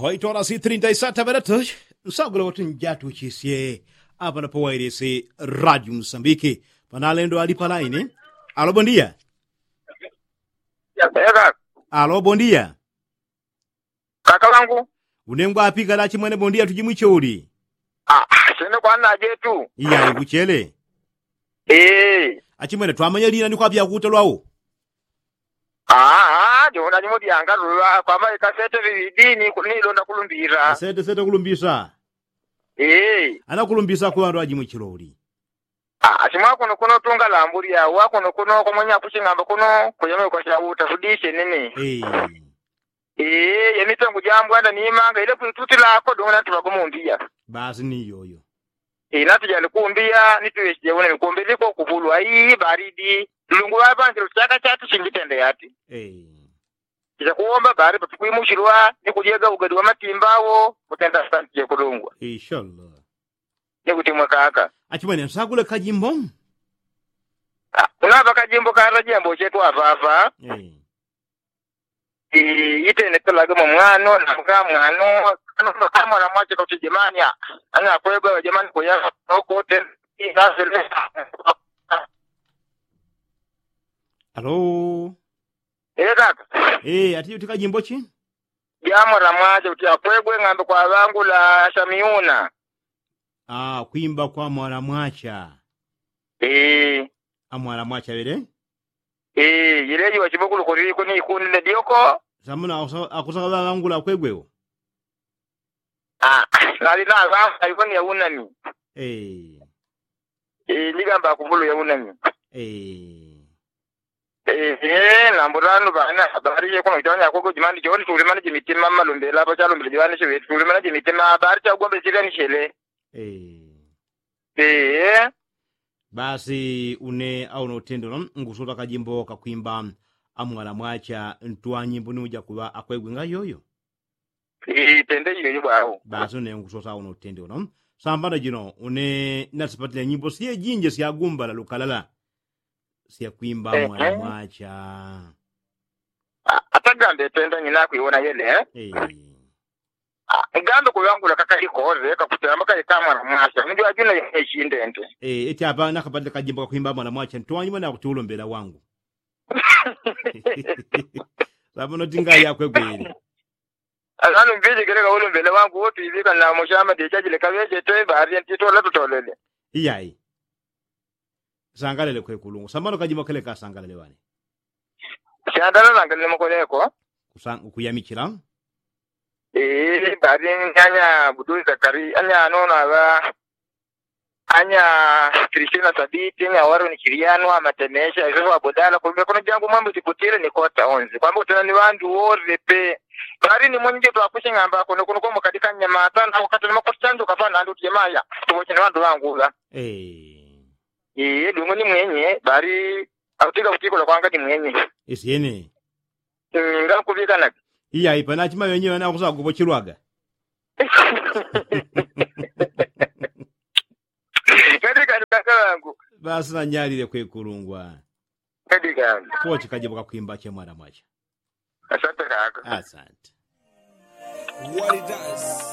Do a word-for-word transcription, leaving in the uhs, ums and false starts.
Hoitorasi trinta isata baratos. Nsagula kuti njatuchisye apana pawairisi radio musambiki. Panalendo ali palaini. Alo bondia. Alo bondia. Kaka wangu. Unengwa apika lachi mwene bondia tujimwiche uli. Sene kwana jetu. Iya ikuchele. Achimwene twamanya lina ni kwapya kuta lwao. Aa ndiona nyimo dyangalulwa kwamba ikasete viwidi nilonda kulumbira. Sete sete kulumbisa. Ee. Anakulumbisa kuwandu ajimwichilo uli. Achimwa kuno kuno tunga lambulya wa kuno kuno kwamwenya kuching'amba kuno kuyamwe kwachauta kudishe nini. Ee. Ee yemipengu jambwanda nimanga ile kwitutilako dung'ana tumagumundiya. Basi ni yoyo. Inatu jali kumbiya nituwesije une kumbiliko kupulwa ii baridi. Lungu wapanjilo chaka chatu chingitende yati. Ee. Ichakuwomba bari patukwimuchilwa ni kulyega ugadi wa matimba wo kutenda santi jekulungwa. Inshallah. Ni kuti mwakaka. Achimwene nsagule kajimbo. Unapa kajimbo kata jembo chetu apapa. Itene pelage mwa mwano na mga mwano. Amwala mwache kauti jemani a anakwegwe wajemani kuyaka nokote. Inasele. Alo. Ee kaka. Ee ati uti kajimbo chi? Jamwala mwache kuti akwegwe ng'ambe kwa ŵangula asamiuna. Kwimba kwa mwala mwacha. Amwala mwacha ŵele. Yile jiŵa chibukulu kuliko ni ikunde dyoko. Samuna akusaka ŵaŵangula akwegweo. Nali naŵamba iko ni yaunami. Ndigamba akuvulu yaunami. Ee nambo tano bana habari ye kuno itanya koko jimani joni tulimana jimitima malumbela apa chalumbela jimani chiwe tulimana jimitima habari chagombe chile ni chile. Ee. Basi une auno utendelo ngusota kajimbo kakwimba amwala mwacha ntwanyimbo ni uja kuŵa akwegwe nga yoyo. Itende iyo ibwau. Basi une ngusosa uno utende uno. Sambano jino une nasipatile nyimbo sye jinje syagumbala lukalala syakwimba mwana mwacha. Atagambe tenda nyina kwiwona yele. Ngambe kuŵangula kakali koze kakutamba kali ka mwana mwacha nijwajuna yechindende. Eti apa nakapatile kajimbo kakwimba mwana mwacha ntiwanyuma nakuti ulombela wangu. Sambano tinga yakwegwele. Asanu mbili kele kaulumbele wangu wotu iŵika namo shama dichajile kaŵeje twe baari ntitola tutolele. Iyai. Sangalele kwekulungu sambano kajimo kele kasangalele ŵane. Shandala nangalele mokoleko. Kuyamichila. Baari nyanya buduli zakari anya anono aŵa. Anya kristina sabiti anya waroni kiliano amatemesha isoso abodala kumbe kono jangu mwambu jiputile ni kota onzi kwamba utena ni ŵandu worepe. Bari ni mwenye jetu akushing'amba kono kono komo kadika nyamata na wakati ni makosi chanjo kapa nandu tiyemaya tuwoche ni ŵandu ŵangula. Iye dungu ni mwenye bari autika kutikola kwanga ni mwenye. Isyene. Ngakuŵikanaka. Iya ipanachima wenyewe nakusakupochilwaga. Kadi kani kaka wangu. Basi nanyalile kwekulungwa. Kadi kani. Pochi kajibu kakwimba che mwana mwacha. Asante kaka. Asante. What it does.